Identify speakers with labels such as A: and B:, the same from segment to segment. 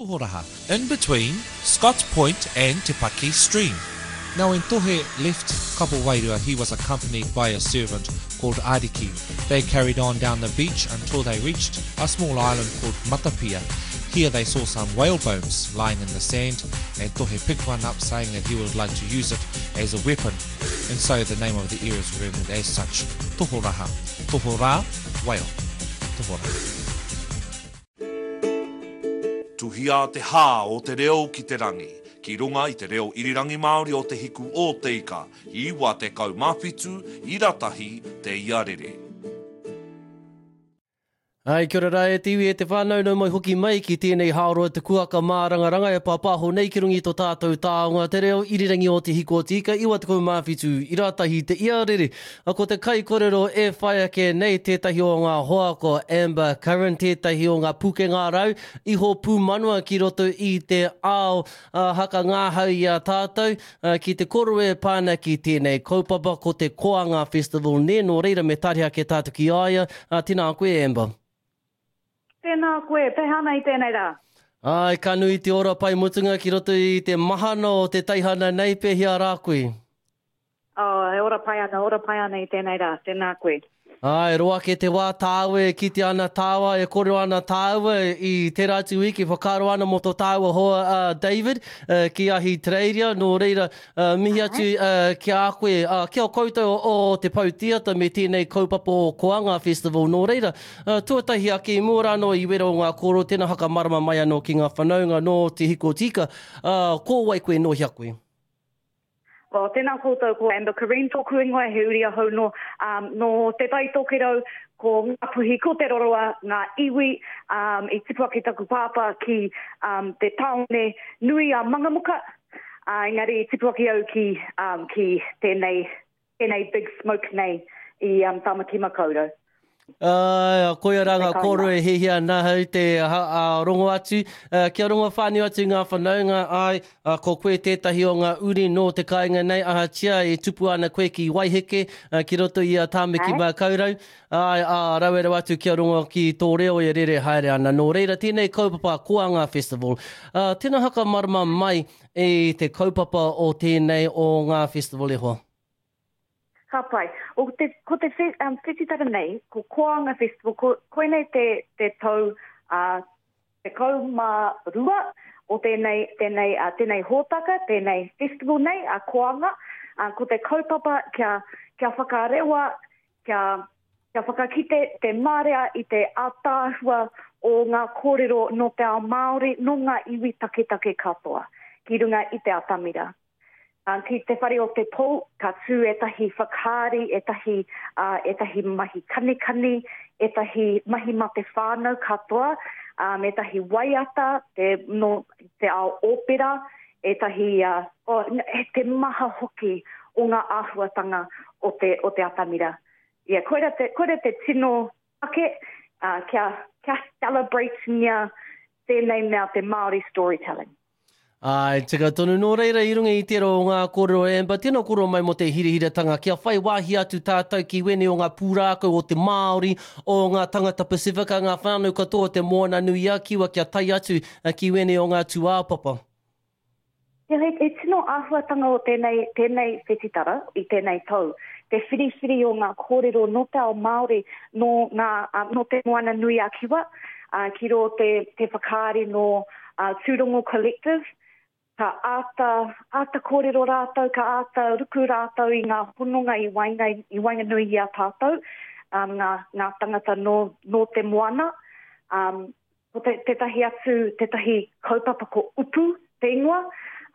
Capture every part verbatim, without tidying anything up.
A: Tohoraha, in between Scotts Point and Te Paki Stream. Now when Tohe left Kapowairua, he was accompanied by a servant called Ariki. They carried on down the beach until they reached a small island called Matapia. Here they saw some whale bones lying in the sand, and Tohe picked one up, saying that he would like to use it as a weapon. And so the name of the area is remembered as such, Tohoraha. Tohora, whale. Tohora.
B: Tuhia te hā o te reo ki te rangi, ki runga i te reo irirangi Māori o Te Hiku o Te Ika, iwa tekau mā whitu, ira tahi, te iarere.
C: Ai, kia ora rā e te iwi e te whānau, nau mai hoki mai ki tēnei hāroa te kuaka mārangaranga e pāpāho nei ki runga i tō tātou taonga te reo irirangi o Te Hiku o Te Ika, iwa tekau mā whitu, ira tahi te iarere. A ko te kaikorero e whai ake nei tētahi o ngā hoa ko Amber Curran, tētahi o ngā pukenga rau, iho pūmanawa ki roto i te ao uh, haka ngāhau i a tātou, uh, ki te koro e pāna ki tēnei kaupapa ko te Koanga Festival nē, nō reira me tari ake tātou ki a ia. Uh, tēnā koe Amber.
D: Tēnā koe, pēhea ana i tēnei rā?
C: Ai, ka nui te ora pai mutunga ki roto i te mahana o te teihana nei, pēhea rā koe?
D: Oh, e ora pai ana, ora pai ana i tēnei rā, tēnā koe.
C: Ai, roa ake te wā tāua e kite ana tāua, e kōrero ana tāua i tērā atu wiki, whakaaro ana mō tō tāua hoa uh, David uh, ki Ahitereiria, nō reira uh, mihi atu uh, ki a koe, uh, ki a koutou o, o te Pou Theatre me tēnei kaupapa o Koanga Festival, nō reira, uh, tuatahi ake i mua rānō i wera o ngā kōrero, tēnā whakamarama mai anō ki ngā whanaunga nō Te Hiku o Te Ika, uh, ko wai koe nō hea koe?
D: Well, tēnā koutou ko Amber Curran tōku ingoa, he uri ahau nō, um, nō Te Tai Tokerau, ko Ngāpuhi, ko Te Roroa, ngā iwi, um, i tipu ake taku pāpā ki um, te tāone nui a Mangamuka, uh, engari i tipu ake au ki, um, ki tēnei, tēnei big smoke nei i um, Tāmaki Makaurau.
C: Uh, koia rā ngā kōrero e hiahia nahau te uh, rongo atu, uh, kia rongo whānui atu ngā whanaunga, ai, uh, ko koe tētahi o ngā uri nō te kāinga nei, ahatia e tupu ana koe ki Waiheke, uh, ki roto i a Tāmaki Makaurau, ai, ā, rawe rawa atu kia rongo ki tō reo e rere haere ana. Nō reira, tēnei kaupapa Koanga Festival. Uh, tēnā whakamarama mai e te kaupapa o tēnei o ngā festival e hoa.
D: Ka pai. O te, ko te um, whititara nei, ko Koanga Festival, ko, koinei te, te tau uh, tekau mā rua o tēnei, tēnei, uh, tēnei hōtaka, tēnei festival nei, a Koanga. Uh, ko te kaupapa kia, kia whakarewa, kia, kia whakakite te marea i te ātaahua o ngā kōrero nō te ao Māori, nō ngā iwi taketake katoa, ki runga i te atamira. Uh, ki te whare o te pou, ka tū ētahi whakaari, ētahi, uh, ētahi mahi kanikani, ētahi mahi mā te whānau katoa, um, ētahi waiata, te, no, te ao opera, ētahi, uh, oh, te maha hoki o ngā āhuatanga o te, o te atamira. Yeah, koira te, koira te tino take, uh, kia, kia celebrate-ngia tēnei mea te Māori storytelling.
C: Ai, tika tonu nō reira i runga i tērā o ngā kōrero e Amber, tēnā kōrero mai mō te hirahiratanga kia whai wāhi atu tātou ki wēnei o ngā pūrākau o te Māori, o ngā tangata Pasifika, ngā whānau katoa o te Moana nui a Kiwa kia tae atu ki wēnei o ngā tūāpapa.
D: He, he tino āhuatanga o tēnei, tēnei whetitara i tēnei tau, te whiriwhiri o ngā kōrero nō te ao Māori, nō, ngā, uh, nō te Moana nui a Kiwa, uh, ki rō te, te whakaari nō uh, Tūrongo Collective, ka āta, āta kōrero rātou, ka āta ruku rātou i ngā hononga i waenga, i waenganui i a tātou, um, ngā, ngā tangata nō, nō te moana. Um, ko te, tētahi atu, tētahi kaupapa ko Upu te ingoa,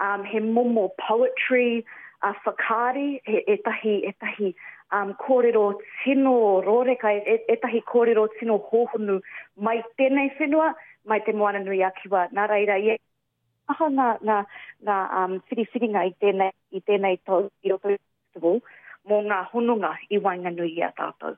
D: um, he momo poetry, uh, whakaari, he, ētahi, ētahi um, kōrero tino rōreka, e, ētahi kōrero tino hōhonu mai tēnei whenua, mai te Moana nui a Kiwa. Nā reira, i aha ngā, ngā, ngā um, whiriwhiringa i tēnei, i tēnei tau i roto i festival mō ngā hononga i waenganui i a tātou.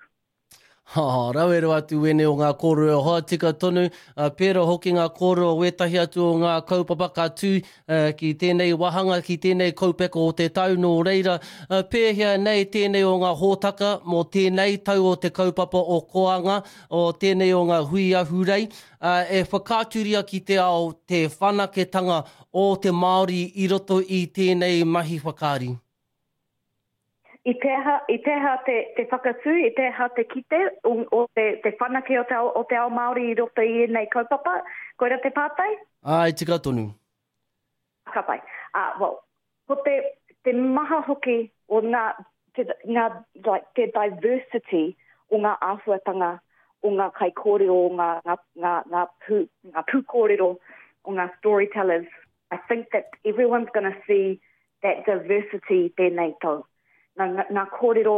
C: Oh, rawe rawa atu wene o ngā kōrero hoa tika tonu, uh, pērā hoki ngā kōrero wētahi atu o ngā kaupapa ka tū uh, ki tēnei wāhanga, ki tēnei kaupeka o te tau nō reira. Uh, pēhea nei tēnei o ngā hōtaka mō tēnei tau o te kaupapa o Koanga, o tēnei o ngā hui ahurei, uh, e whakaaturia ki te ao te whanaketanga o te Māori i roto i tēnei mahi whakaari.
D: I te aha, i te aha te, te whakatū, i te aha te kite o, o te, te whanake o te, ao, o te ao Māori i roto i ēnei kaupapa, koira te pātai?
C: Ai, tika tonu.
D: Ka pai. Uh, well, ko te, te maha hoki o ngā, te, ngā, like, te diversity o ngā āhuatanga, o ngā kaikōrero, o ngā, ngā, ngā, ngā, pū, ngā pūkōrero, o ngā storytellers. I think that everyone's gonna see that diversity tēnei tau. Ngā, ngā, ngā kōrero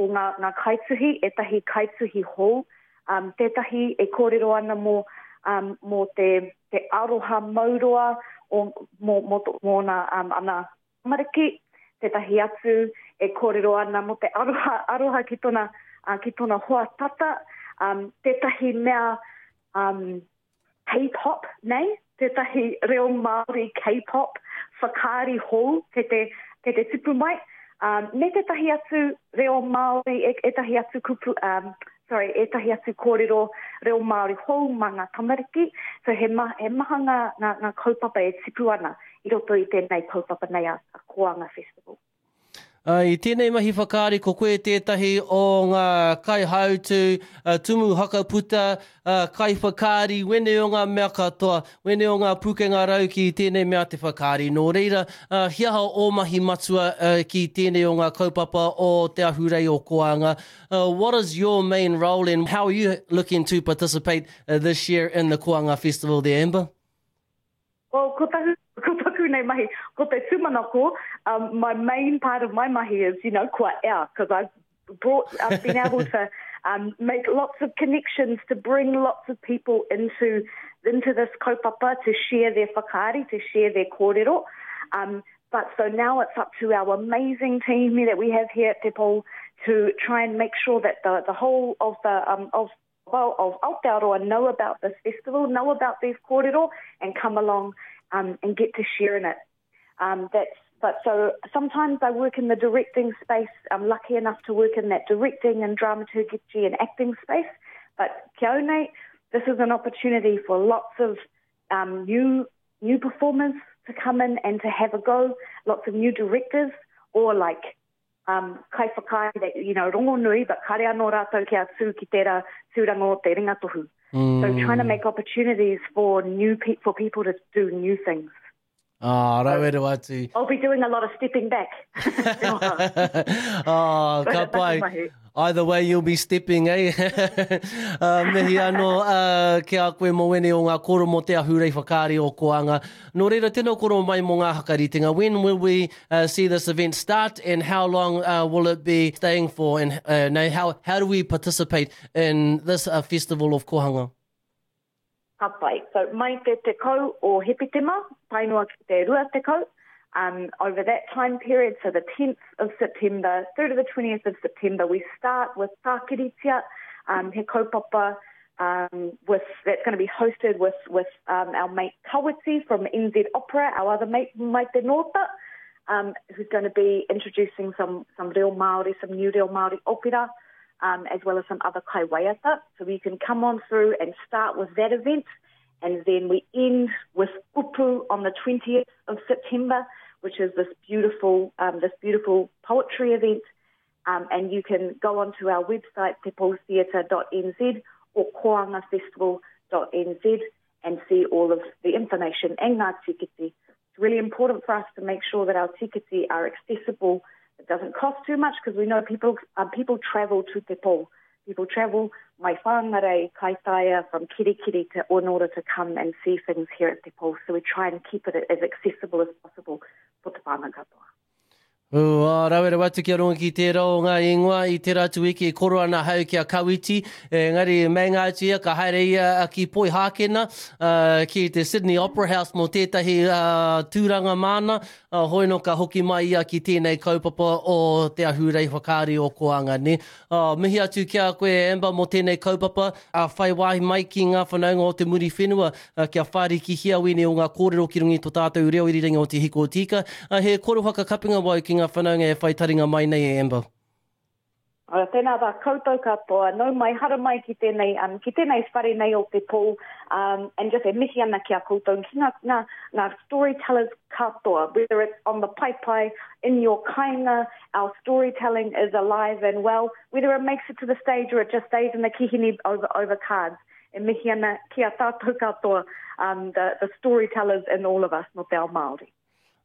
D: o ngā, ngā kaituhi, ētahi kaituhi hou, um, tētahi e kōrero ana mō, um, mō te, te aroha mauroa o, mō, mō, mō nā, um, ana tamariki, tētahi atu e kōrero ana mō te aroha, aroha ki tōna, uh, ki tōna hoa tata, um, tētahi mea um, K-pop nei, tētahi reo Māori K-pop, whakaari hou, kei te, kei te tipu mai, um, me tētahi atu reo Māori, e, ētahi atu kupu, um, sorry, ētahi atu kōrero reo Māori hou mā ngā tamariki. So he, ma, he maha ngā, ngā, ngā kaupapa e tipu ana i roto i tēnei kaupapa nei a, a Koanga Festival.
C: Uh, i tēnei mahi whakaari ko koe tētahi o ngā kaihautu, uh, tumu hakaputa, uh, kaiwhakaari, wene o ngā mea katoa, wene o ngā pūkenga rau ki tēnei mea te whakaari. Nō reira, uh, he aha o mahi matua uh, ki tēnei o ngā kaupapa o te ahurei o Koanga. Uh, what is your main role and how are you looking to participate uh, this year in the Koanga Festival there, Amber?
D: Well, ko taku, ko taku nei mahi, ko te tūmanako, um, my main part of my mahi is, you know, kua ea, because I've brought, I've been able to um, make lots of connections to bring lots of people into, into this kaupapa to share their whakaari, to share their kōrero. Um, but so now it's up to our amazing team that we have here at Te Pou to try and make sure that the, the whole of the, um, of well, of Aotearoa know about this festival, know about these kōrero, and come along um, and get to share in it. Um, that's, but so sometimes I work in the directing space. I'm lucky enough to work in that directing and dramaturgy and acting space. But kia au nei, this is an opportunity for lots of um, new, new performers to come in and to have a go, lots of new directors, or like um, kaiwhakaari that, you know, rongonui, but kare anō rātou kia tū ki tērā tūranga o te ringatohu. Mm. So trying to make opportunities for new pe- for people to do new things.
C: Ah, rawe rawa atu.
D: I'll be doing a lot of stepping back.
C: Oh, ka pai. Either way, you'll be stepping, eh? uh, mihi anō uh, ki a koe mō wene o ngā koro mō te ahurei whakaari o Koanga. Nō reira, tēnā koro mai mō ngā hakaritenga. When will we uh, see this event start and how long uh, will it be staying for? And uh, no, how, how do we participate in this uh, festival of Kohanga?
D: Ka pai. So mai te tekau o Hepetema, tae noa ki te rua tekau, um, over that time period, so the tenth of September through to the twentieth of September, we start with Tākiritia, um, he kaupapa, um, with, that's gonna be hosted with, with um, our mate Kawiti from N Z Opera, our other mate Maite Nōta, um, who's gonna be introducing some, some reo Māori, some new reo Māori opera, um, as well as some other kaiwaiata. So you can come on through and start with that event, and then we end with Upu on the twentieth of September, which is this beautiful, um, this beautiful poetry event. Um, and you can go onto our website, te pou theatre dot n z or koanga festival dot n z, and see all of the information and ngā tikiti. It's really important for us to make sure that our tikiti are accessible. It doesn't cost too much 'cause we know people, uh, people travel to Te Pou. People travel mai Whangarei, Kaitaia, from Kirikiri to in order to come and see things here at Te Pou. So we try and keep it as accessible as possible for te whānau katoa.
C: Ua, rawe rawa atu kia rongo ki tērā o ngā ingoa i tērā atu wiki e koro ana hau ki a Kawiti, engari meinga atu ia ka haere ia ki Poihākena, uh, ki te Sydney Opera House mō tētahi uh, tūranga māna, uh, hoi no ka hoki mai ia ki tēnei kaupapa o te ahurei whakaari o Koanga, ne? Uh, mihi atu ki a koe Amber mō tēnei kaupapa, uh, whai wāhi mai ki ngā whanaunga o te Muriwhenua, uh, kia whārikihia wēnei o ngā kōrero ki runga i tō tātou reo irirangi o Te Hiko o Te Ika. Uh, he koro whakakapinga wau ki ngā whanaunga e whai taringa mai nei e Amber.
D: Ora, tēnā rā koutou katoa, nau mai, hara mai ki tēnei, um, ki tēnei whare nei o te pō, um, and just e mihi ana ki a koutou, ki ngā, ngā, ngā storytellers katoa, whether it's on the paepae, in your kainga, our storytelling is alive and well, whether it makes it to the stage or it just stays in the kihini over, over cards. E mihi ana ki a tātou katoa, um, the, the storytellers in all of us, no te ao Māori.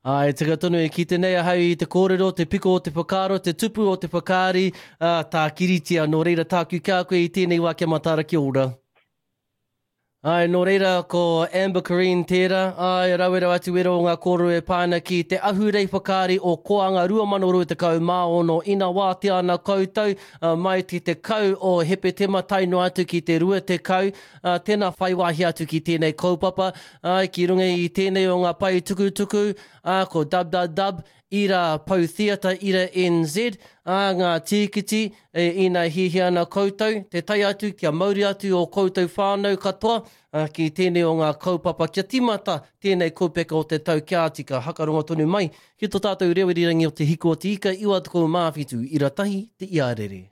C: Ai, tika tonu e kite nei ahau i te kōrero, te piko o te whakaaro, te tupu o te whakaari, uh, tākiritia. Nō reira tāku kia koe i tēnei wā kia mataara kia ora. Ai, nō reira ko Amber Curreen tērā, ai, rawe rawa atu wera o ngā kōrero e pā ana ki te ahurei whakaari o Koanga rua mano rua tekau mā ono ina wātea ana koutou, uh, mai te tekau o Hepetema tae noa atu ki te rua tekau, uh, tēnā whai wāhi atu ki tēnei kaupapa, ai, ki runga i tēnei o ngā pae tukutuku, ā, ko www ira pou theatre ira N Z, ā, ngā tīkiti, e, ina hiahia ana koutou, te tae atu kia mauri atu o koutou whānau katoa, ā, ki tēnei o ngā kaupapa kia tīmata tēnei kaupeka o te tau kia tika hakarongo tonu mai ki tō tātou reo irirangi o Te Hiku o Te Ika iwa tekau mā whitu ira tahi te iarere.